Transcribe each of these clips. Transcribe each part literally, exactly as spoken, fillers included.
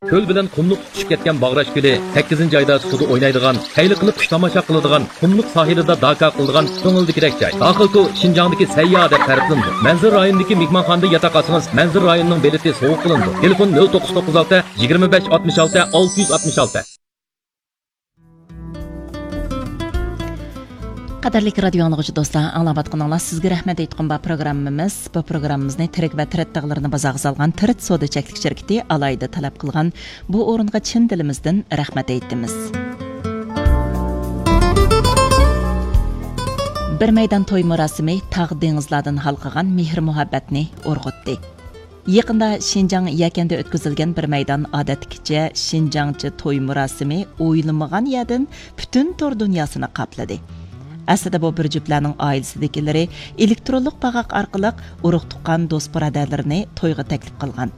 كۆل بىلەن قۇملۇق تۇتىشىپ كەتكەن باغراش كۆلى، سەككىزىنچى ئايدا سۇدا ئوينايدىغان، خەيلى قىلىپ قۇش تاماشا قىلىدىغان، قۇملۇق ساھىلىدا داكا قىلىدىغان كۆڭۈلدىكىدەك جاي. داخىلكو شىنجاڭدىكى سەيياھ دەپ تەرىپلىنىدۇ. مەنزىرە رايونىدىكى مېھمانخانىدا ياتاق ئالسىڭىز، مەنزىرە رايونىنىڭ بېلىتى سوۋغا قىلىنىدۇ. تېلېفون: نۆل توققۇز توققۇز ئالتە، يىگىرمە بەش، ئاتمىش ئالتە، ئالتە يۈز ئاتمىش ئالتە. قەدىرلىك رادىيو ئاڭلىغۇچى دوستلار، ئاڭلاۋاتقىنىڭلار سىزگە رەھمەت ئېيتقۇم بار پروگراممىمىز. بۇ پروگراممىمىزنى تىرىك ۋە تىرىت تاغلىرىنى بازارغا سالغان تىرىت سودا چەكلىك شىركىتى ئالاھىدە تەلەپ قىلغان. بۇ ئورۇنغا چىن دىلىمىزدىن رەھمەت ئېيتىمىز. بىر مەيدان توي مۇراسىمى تاغ دېڭىزلاردىن ھالقىغان مېھىر مۇھەببەتنى ئۇرغۇتتى. يېقىندا شىنجاڭ يەكەندە ئۆتكۈزۈلگەن بىر مەيدان ئادەتتىكىچە شىنجاڭچە توي مۇراسىمى ئويلىمىغان يەردىن پۈتۈن تور دۇنياسىنى قاپلىدى. ئەسلىدە بۇ بىر جۈپلەرنىڭ ئائىلىسىدىكىلىرى ئېلېكترونلۇق باغاق ئارقىلىق ئۇرۇق-تۇغقان، دوست-بۇرادەرلىرىنى تويغا تەكلىپ قىلغان.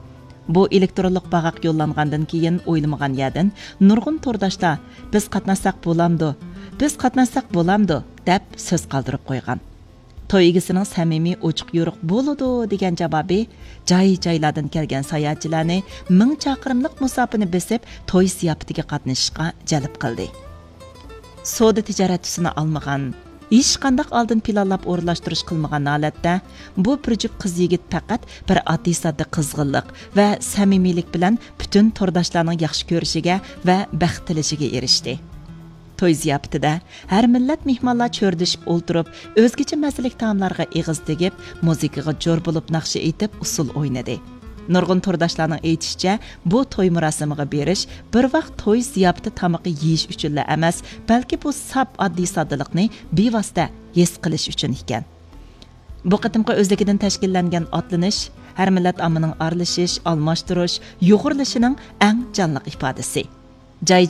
بۇ ئېلېكترونلۇق باغاق يوللانغاندىن كېيىن ئويلىمىغان يەردىن نۇرغۇن تورداشلار: «بىز قاتناشساق بولامدۇ؟ بىز قاتناشساق بولامدۇ؟» دەپ سۆز قالدۇرۇپ قويغان. توي ئىگىسىنىڭ سەمىمىي، ئوچۇق-يورۇق بولىدۇ دېگەن جاۋابى جاي-جايلاردىن كەلگەن ساياھەتچىلەرنى مىڭ چاقىرىملىق مۇساپىنى بېسىپ، توي زىياپىتىگە قاتنىشىشقا جەلپ قىلدى. سودا تىجارەت تۈسىنى ئالمىغان، ھېچقانداق ئالدىن پىلانلاپ ئورۇنلاشتۇرۇش قىلمىغان ھالەتتە، بۇ بىر جۈپ قىز-يىگىت پەقەت بىر ئاددىي-ساددا قىزغىنلىق ۋە سەمىمىيلىك بىلەن پۈتۈن تورداشلارنىڭ ياخشى كۆرۈشىگە ۋە بەخت تىلىشىگە ئېرىشتى. توي زىياپىتىدە ھەر مىللەت مېھمانلار چۆرىدىشىپ ئولتۇرۇپ، ئۆزگىچە مەززىلىك تائاملارغا ئېغىز تېگىپ، مۇزىكىغا جور بولۇپ ناخشا ئېيتىپ، ئۇسسۇل ئوينىدى. نۇرغۇن تورداشلارنىڭ ئېيتىشىچە، بۇ توي مۇراسىمىغا بېرىش بىر ۋاق توي زىياپىتى تامىقى يېيىش ئۈچۈنلا ئەمەس، بەلكى بۇ ساپ ئاددىي-ساددىلىقنى بىۋاسىتە ھېس قىلىش ئۈچۈن ئىكەن. بۇ قېتىمقى ئۆزلۈكىدىن تەشكىللەنگەن ئاتلىنىش ھەر مىللەت ئاممىنىڭ ئارىلىشىش، ئالماشتۇرۇش، يۇغۇرۇلۇشىنىڭ ئەڭ جانلىق ئىپادىسى. جاي